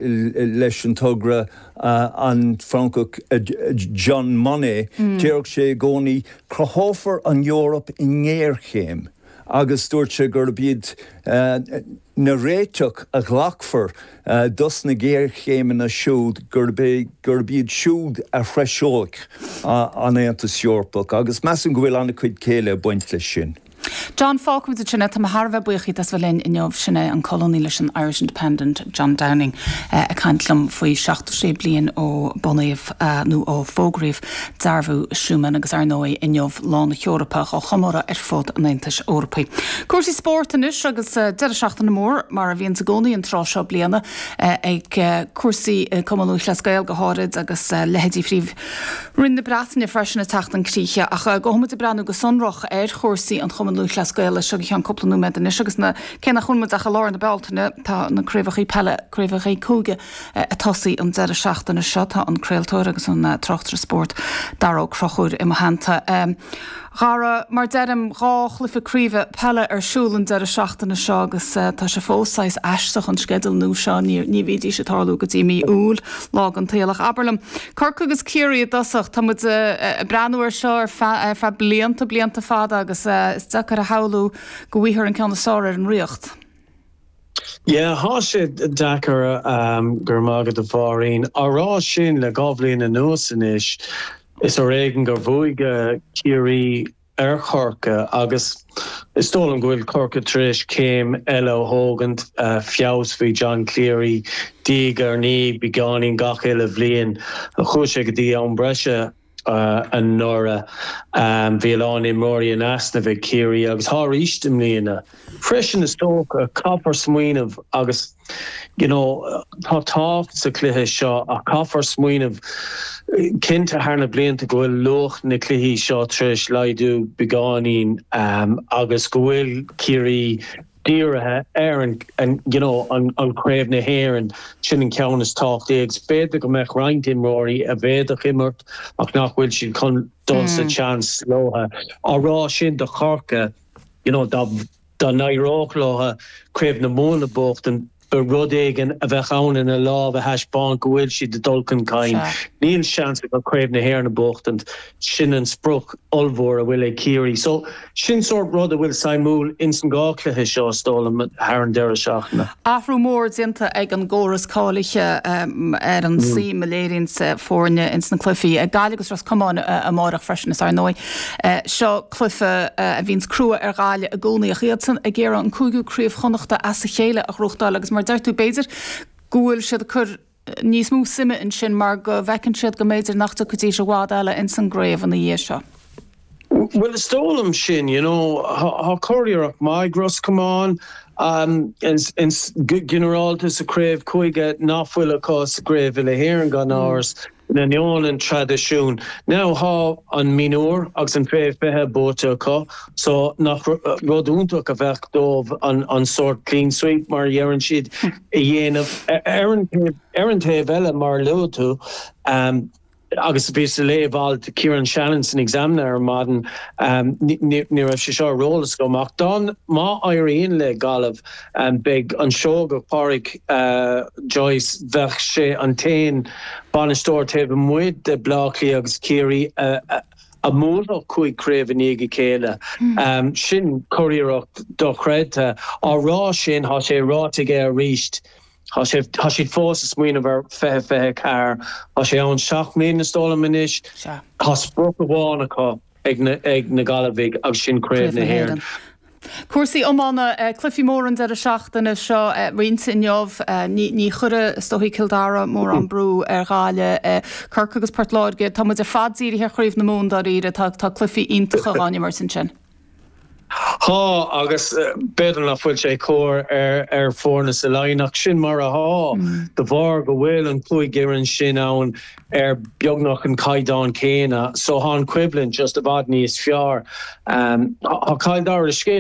Leis an togra, an Francach Jean Monnet, déarfadh sé i gcónaí, cruthófar an Eoraip i ngéarchéim agus dúirt sé gurb iad na réiteach a ghlacfar dos na géarchéimeanna siúd gurb é gurb iad siúd a threiseoidh an Aontas Eorpach agus measaim go bhfuil an-chuid céille ag baint leis sin. John, Fágfaimid ansin é. Tá mé thar a bheith buíoch díot as bheith linn inniu. Sin é an colúnaí leis an Irish Independent, John Downing, ag caint liom faoi 76 bliain ó bunaíodh, nó ó fógraíodh, Dearbhú Schuman agus ar ndóigh inniu Lá na hEorpa á chomóradh ar fud an Aontais Eorpaigh. Cúrsaí spóirt anois agus deireadh seachtaine mór, mar a bhíonns i gcónaí an tráth seo bliana, ag cúrsaí Cumann Lúthchleas Gael go háirid agus leithéidí Phríomh Roinn na Breataine freisin ag teacht chun críche. Ach gabhfaidh muid ag breathnú go sonrach ar chúrsaí an Chumainn Lúthchleas Gael leis seo go ceann cúpla nóiméad anois agus na, cé nach bhfuil muid ach i lár na Bealtaine, tá na craobhachaí peile, craobhachaí cúige ag tosaí an deireadh seachtaine seo. Tá an craoltóir agus an tráchtaire spóirt Dara Ó Conchúir i mo theannta. Dhara, mar deirim, 2 chluiche craoibhe peile ar siúl an deireadh seachtaine seo agus tá sé fós saghas aisteach an sceideal nua seo, ní bhídís ag tarlú go dtí mí Iúil, lá den tsaol. Ach abair liom, Corcaigh agus Ciarraí i dtosach, tá muid ag breathnú air seo ar feadh, ar feadh blianta, blianta fada agus is deacair a shamhlú go bhfaighfear an ceann is fearr ar an Ríocht. Yeah, thá sé deacair, go raibh maith agat a Mháirín. Á rá sin, le 2 bhliain anuas anois, is ar éigean gur bhuaigh Ciarraí ar Chorcaigh agus is dóigh liom go bhfuil Corcaigh tar éis céim eile a thógaint, feabhas faoi John Cleary, diaidh ar ndiaidh, beagáinín gach uile bhliain. Chuaigh sé go dtí am breise. anuraidh. Bhí a lán imreoirí in easnamh ag Ciarraí agus thá arís i mbliana. Freisin is dócha, caithfear smaoineamh agus you know tá tábhacht sa chluiche seo ach caithfear smaoineamh cinnte thar na blianta go bhfuil luach na cluichí seo tar éis laghdú beagáinín agus go bhfuil Ciarraí dírithe ar an you know an Craobh na hÉireann, sin an ceann is tábhachtaí agus b'fhéidir go mbeadh roinnt imreoirí a bhféadfadh imirt ach nach bhfuil siad chun dul sa tseans leo. Á rá sin do Chorcaigh, you know dá dá n-éireodh leo Craobh na Mumhan a bhuachtaint, ba rud éigin a bheadh ann ina lámh a thaispeáint go bhfuil siad ag dul chun cinn. Níl seans acu Craobh na hÉireann a bhuachtaint, sin an sprioc ollmhór a bhfuil ag Ciarraí. So, sin sórt rud a bhfuil suimiúil ins an dhá chluiche seo, is dóigh liom, thar an deireadh seachtaine. Athrú mór déanta ag an gcóras cáilithe ar an suim a léiríonns foirne ins na cluichí. Gaillimh agus Ros Comáin amáireach freisin is ar ndóigh seo cluiche a bhíonns crua ar Ghaillimh i gcónaí ach iadsan ag iarraidh an cúigiú Craobh Chonnachta as a chéile a ghnóthachtáil agus mar a deir tú b'fhéidir go bhfuil siad ag cur níos mó suime ansin mar go bhfeiceann siad go mb'fhéidir nach dtiocfaidís i bhfad eile ins an gcraobh ina dhiaidh seo. Bhuel is dóigh liom sin, you know, thá curiarracht maith ag Ros Comáin ins go ginearálta sa chraobh cúige nach bhfuil acu sa gcraobh uile-Éireann gan amhras, in ainneoin an traidisiúin. Now thá an mionúr agus an fé 20 buaite acu so nach rud iontach a bheadh dóibh an sórt clean sweep mar a dheireann siad a dhéanamh. Ar an taobh eile mar a luaigh tú, agus bhíos ag léamh alt Kieran Shannon san Examiner ar maidin, ní raibh sé seo ar eolas agam ach dá má éiríonn le Gaillimh beidh an Seoigeach Pádraic Joyce, bheadh sé an t-aon bainisteoir taobh amuigh de Bleá Cliath agus Ciarraí a a mbuailfeadh 5 craobh i ndiaidh a chéile. Sin curiarracht dochreidte. Á rá sin, tá sé ráite aige arís, tá sé, tá siad fós ag smaoineamh ar 2024. Tá sé ann 7 mbliana is dóigh liom anois. Tá sprioc amháin acu ag na, ag na Gaillimhigh agus sin Craobh na hÉireann. Cúrsaí iomána, cluichí móra an deireadh seachtaine seo, roinnt inniu. Ní chuirfidh, is dóichí, Cill Dara mórán brú ar Ghaillimh. Corcaigh agus Port Láirge, tá muid ar fad dírithe ar Chraobh na Mumhan dáiríre, tá cluichí iontacha á n-imirt ansin. Tá, agus b'fhéidir nach bhfuil sé cóir ar foirne sa Laighin ach sin mar athá, de bharr go bhfuil an 5 fhoireann sin ann ar beagnach an caighdeán céanna so thá an choimhlint just i bhfad níos fearr. Thá Cill Dara, scéal.